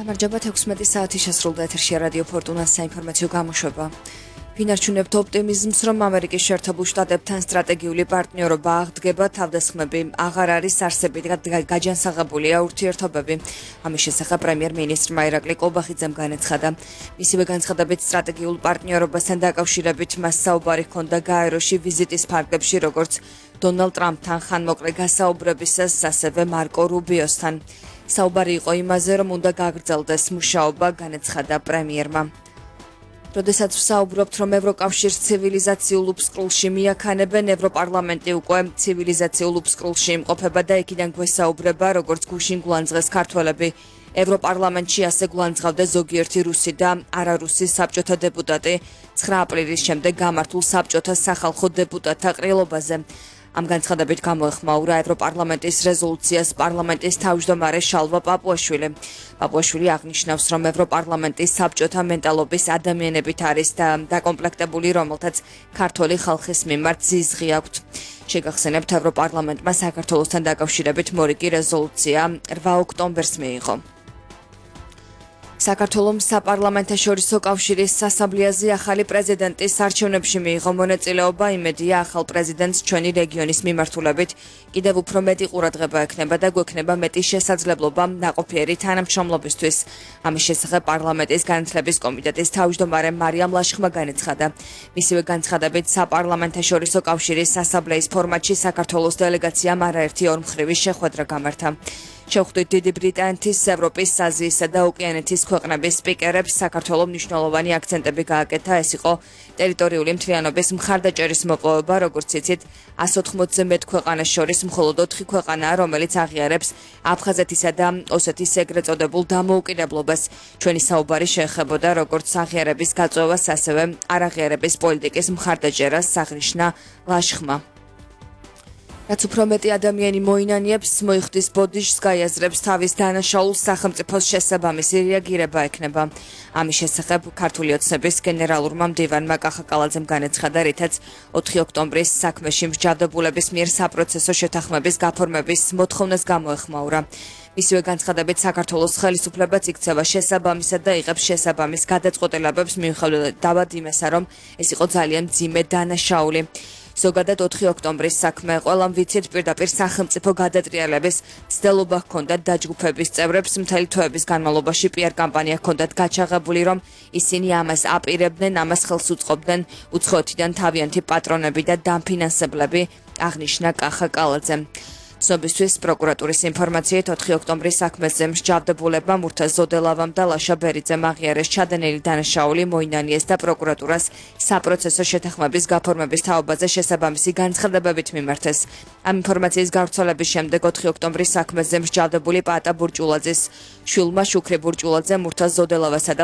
გამარჯობა 16 საათი შესრულდა ეთერში რადიო ფორტუნას საინფორმაციო გამოშვება. ვინარჩუნებთ ოპტიმიზმს, რომ ამერიკის შეერთებულ შტატებთან სტრატეგიული პარტნიორობა აღდგება, თავდასხმები აღარ არის არსებით გაჯანსაღებულია ურთიერთობები. ამის შესახებ პრემიერ-მინისტრმა ირაკლი კობახიძემ განაცხადა. მისივე განცხადებით სტრატეგიულ პარტნიორობასთან დაკავშირებით მას საუბარი ჰქონდა გაეროში ვიზიტის ფარგლებში, როგორც დონალდ ტრამპთან ხანმოკლე გასაუბრებისას, ასევე მარკო რუბიოსთან. საუბარი იყო იმაზე, რომ უნდა გაგრძელდეს მუშაობა, განაცხადა პრემიერმა. როდესაც ვსაუბრობთ, რომ ევროკავშირს ცივილიზაციულ უბსკრულში მიაქანებენ, ევროპარლამენტი უკვე ცივილიზაციულ უბსკრულში იმყოფება და იქიდან გვესაუბრება, როგორც გუშინ გვანძღეს ქართველები. ევროპარლამენტში ასე გვანძღავდა ზოგიერთი რუსი და არარუსი საბჭოთა დეპუტატი 9 აპრილის შემდეგ გამართულ საბჭოთა სახალხო დეპუტატთა ყრილობაზე. ამ განცხადებით გამოეხმაურა ევროპარლამენტის რეზოლუციას პარლამენტის თავმჯდომარე შალვა პაპუაშვილი. პაპუაშვილი აღნიშნავს, რომ ევროპარლამენტის საბჭოთა მენტალობის ადამიანებით არის დაკომპლექტებული, რომელთაც ქართული ხალხის მიმართ ზიზღი აქვთ. შეგახსენებთ, ევროპარლამენტმა საქართველოსთან დაკავშირებით მორიგი რეზოლუცია 8 ოქტომბერს მიიღო. საქართველოს საპარლამენტაშორისო კავშირის ასამბლეაზე ახალი პრეზიდენტის არჩევნებში მიიღო მონაწილეობა, იმედია ახალ პრეზიდენტს ჩვენი რეგიონის მიმართულებით კიდევ უფრო მეტი ყურადღება ექნება და გვექნება მეტი შესაძლებლობა ნაყოფიერი თანამშრომლობისთვის. ამის შესახებ პარლამენტის განათლების კომიტეტის თავმჯდომარე მარიამ ლაშხმა განაცხადა. მისივე განცხადებით საპარლამენტაშორისო კავშირის ასამბლეის ფორმატში საქართველოს დელეგაციამ არაერთი ორმხრივი შეხვედრა გამართა. შევხვდით დიდი ბრიტანეთის, ევროპის, აზიისა და ოკეანეთის ქვეყნების სპიკერებს, საქართველოს მნიშვნელოვანი აქცენტები გააკეთა, ეს იყო ტერიტორიული მთლიანობის მხარდაჭერის მოპოვება, როგორც იცით, 180-ზე მეტ ქვეყანას შორის მხოლოდ 4 ქვეყანაა, რომელიც აღიარებს აფხაზეთისა და ოსეთის ეგრეთ წოდებულ დამოუკიდებლობას. ჩვენი საუბარი შეეხებოდა როგორც აღიარების გაწევას, ასევე არაღიარების პოლიტიკის მხარდაჭერას, აღნიშნა ლაშხმა. რაც უფრო მეტი ადამიანი მოინანიებს, მოიხდის ბოდიშს, გაიაზრებს თავის დანაშაულს, სახელმწიფოს შესაბამისი რეაგირება ექნება. ამის შესახებ ქართული ოცნების გენერალურმა მდივანმა კახაკალაძემ განაცხადა, რითაც 4 ოქტომბრის საქმეში მსჯავრდებულების მიერ საპროცესო შეთანხმების გაფორმების მოთხოვნას გამოეხმაურა. მისივე განცხადებით საქართველოს ხელისუფლებაც იქცევა შესაბამისად და იღებს შესაბამის გადაწყვეტილებებს, მიუხედავად იმისა, რომ ეს იყო ძალიან მძიმე დანაშაული. ზოგადად 4 ოქტომბრის საქმე ყველამ ვიცით, პირდაპირ სახელმწიფო გადატრიალების მცდელობა ჰქონდათ დაჯგუფების წევრებს, მთელი თვეების განმავლობაში PR კამპანია ჰქონდათ გაჩაღებული, რომ ისინი ამას აპირებდნენ, ამას ხელს უწყობდნენ უცხოეთიდან თავიანთი პატრონები და დამფინანსებლები, აღნიშნა კახაკალაძემ. ცნობისთვის პროკურატურის ინფორმაციით 4 ოქტომბრის საქმეზე მსჯავრდებულებმა მურთაზ ზოდელავამ და ლაშა ბერიძემ აღიარეს ჩადენილი დანაშაული, მოინანიეს და პროკურატურას საპროცესო შეთანხმების გაფორმების თაობაზე შესაბამისი განცხადებებით მიმართეს. ამ ინფორმაციის გავრცელების შემდეგ 4 ოქტომბრის საქმეზე მსჯავრდებული პაატა ბურჭულაძის შვილმა შუქრი ბურჭულაძე მურთაზ ზოდელავასა და